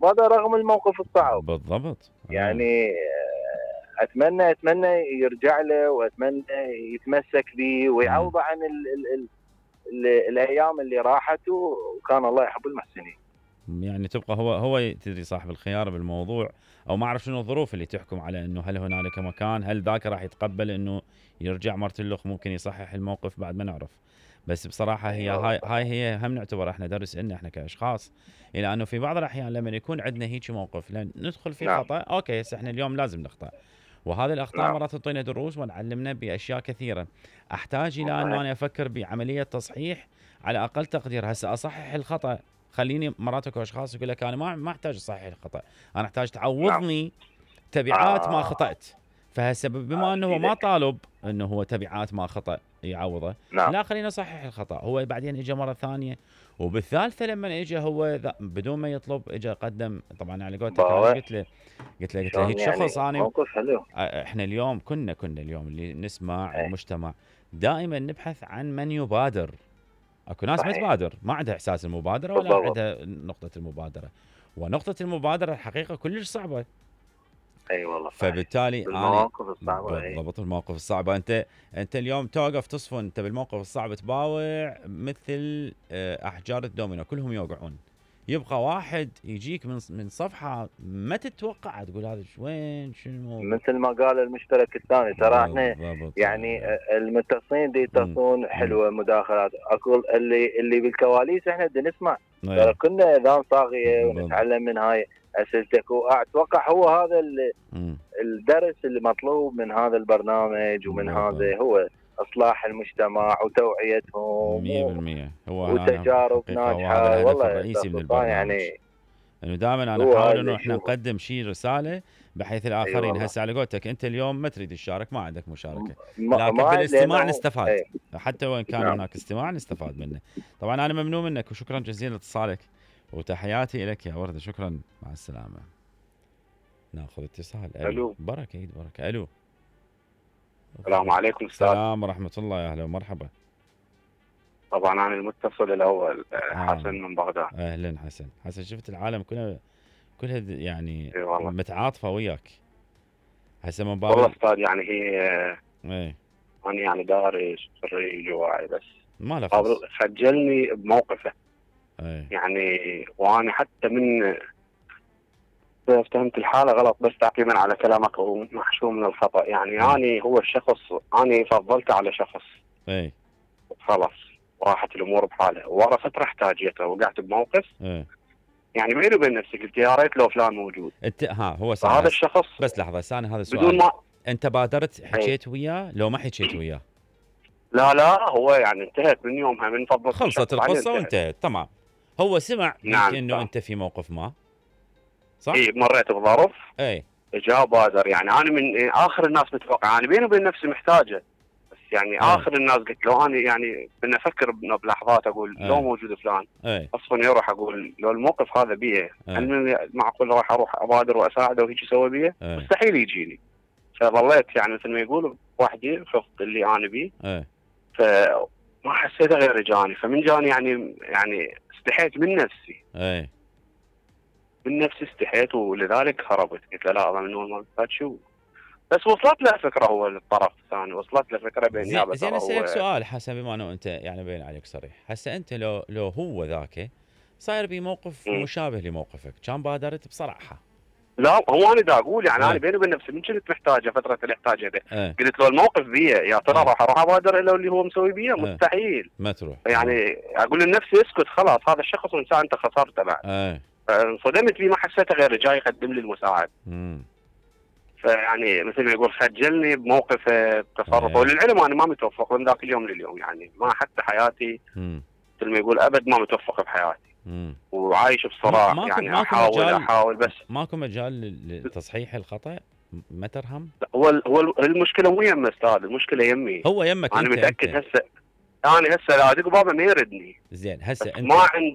وهذا رغم الموقف الصعب. بالضبط. يعني اتمنى يرجع له، واتمنى يتمسك به ويعوضه عن الايام اللي راحت، وكان الله يحب المحسنين. يعني تبقى هو تدري صاحب الخيار بالموضوع، او ما اعرف شنو الظروف اللي تحكم على انه هل هنالك مكان، هل ذاك راح يتقبل انه يرجع مرتلخ ممكن يصحح الموقف، بعد ما نعرف. بس بصراحه هي هاي هي هم نعتبر احنا درس لنا احنا كاشخاص، الى انه في بعض الاحيان لما يكون عندنا هيك موقف لان ندخل في خطا، اوكي هسه احنا اليوم لازم نخطأ، وهذه الاخطاء مرات تعطينا دروس ونعلمنا باشياء كثيره. احتاج الى انه انا افكر بعمليه تصحيح على اقل تقدير. هسه اصحح الخطا، خليني مرات اكو اشخاص يقول لك انا ما احتاج اصحح الخطا، انا احتاج تعوضني تبعات ما خطأت. فهسه بما انه هو ما طالب انه هو تبعات ما خطأ يعوضه، لا خلينا نصحح الخطأ. هو بعدين اجى مره ثانيه، وبالثالثه لما اجى هو بدون ما يطلب اجى قدم. طبعا على قولتك انا قلت له هيك شخص انا موقف حلو. احنا اليوم كنا اليوم اللي نسمع المجتمع دائما نبحث عن من يبادر. اكو ناس ما تبادر، ما عندها احساس المبادره ولا عندها نقطه المبادره، ونقطه المبادره الحقيقه كلش صعبه. اي والله. فبالتالي المواقف الصعبه. بالضبط المواقف الصعبه. انت اليوم توقف تصفن، انت بالموقف الصعب تباوع مثل احجار الدومينو كلهم يوقعون، يبقى واحد يجيك من صفحه ما تتوقع، تقول هذا وين شنو. مثل ما قال المشترك الثاني ترى احنا يعني المتصلين دي يتصلون حلوه مداخلات، اقول اللي بالكواليس احنا بدنا نسمع. ترى كنا اذان صاغيه ونتعلم من هاي اسئلتك، واتوقع هو هذا الدرس اللي مطلوب من هذا البرنامج ومن هذا هو اصلاح المجتمع وتوعيتهم 100%. هو وتجارب ناجحه. والله الرئيسي من البرنامج يعني انه دائما انا احاول انه احنا نقدم شيء رساله بحيث الاخرين. هسه على قولتك انت اليوم ما تريد تشارك، ما عندك مشاركه، لكن بالاستماع نستفاد. حتى وان كان هناك استماع نستفاد منه. طبعا انا ممنون منك وشكرا جزيلا لاتصالك وتحياتي لك يا ورده. شكرا، مع السلامه. ناخذ اتصال. الو. بركه عيد بركه. الو. السلام عليكم استاذ. السلام ورحمه الله، يا اهلا ومرحبا. طبعا انا المتصل الاول حسن من بغداد. اهلا حسن. شفت العالم كلها يعني متعاطفه وياك هسه من باب. والله استاذ يعني هي انا يعني دارس خريج وواعي، بس ما خجلني بموقفه. يعني وانا حتى من فهمت الحاله غلط، بس تعقيبا على كلامك ومحشوم من الخطا. يعني اني هو الشخص اني فضلته على شخص خلاص راحت الامور بحالها، ورا فتره احتاجيته وقعت بموقف يعني بيني وبين نفسي قلت يا ريت لو فلان موجود. هو هذا الشخص. بس لحظه ثانيه، هذا السؤال بدون ما انت بادرت حكيت وياه لو ما حكيت وياه؟ لا هو يعني انتهت من يومها، من فضلك خلصت القصه وانتهت. تمام. هو سمع انه انت في موقف ما، صح؟ اي مريت بظرف. اجا بادر. يعني انا من اخر الناس متوقع، انا بيني وبين نفسي محتاجه، بس يعني اخر الناس قلت لو انا يعني بدنا افكر بلحظات اقول لو موجود فلان اصلا يروح اقول لو الموقف هذا بيه هل معقول راح اروح ابادر واساعده وهيك يسوي بيه؟ مستحيل يجيني. فظليت يعني مثل ما يقولوا وحدي خفت اللي انا بيه. فما حسيت غير جاني، فمن جاني يعني استحيت من نفسي. من نفسي استحيت، ولذلك هربت. قلت له لا من اول ما شو. بس وصلت له فكره، هو الطرف الثاني وصلت له فكره بالنيابه. زين اسالك سؤال حسن، بما انه انت يعني باين عليك صريح، هسه انت لو هو ذاك صاير بموقف مشابه لموقفك، كان بادرت بصراحه؟ لا هو انا دا اقول يعني انا بيني وبين نفسي من كنت محتاجه فتره الاحتاج هذا. قلت له الموقف بيه يا ترى راح ابادر الا اللي هو مسوي بيه؟ مستحيل. ما تروح يعني اقول لنفسي اسكت خلاص، هذا الشخص وانسان انت خسرته بعد. انصدمت فيه، ما حسيته غير جاي يقدم لي المساعده. فيعني مثل ما يقول خجلني بموقف تصرفه. وللعلم انا ما متوفق من ذاك اليوم لليوم، يعني ما حتى حياتي مثل ما يقول ابد ما متوفق بحياتي. وعايش بصراع. يعني احاول بس ماكو مجال لتصحيح الخطا؟ ما ترهم؟ هو المشكله مو يم استاذ، المشكله يمي. هو يمك انا متاكد. هسه انا لا دق بابا ما يردني. زين هسه انت ما عندي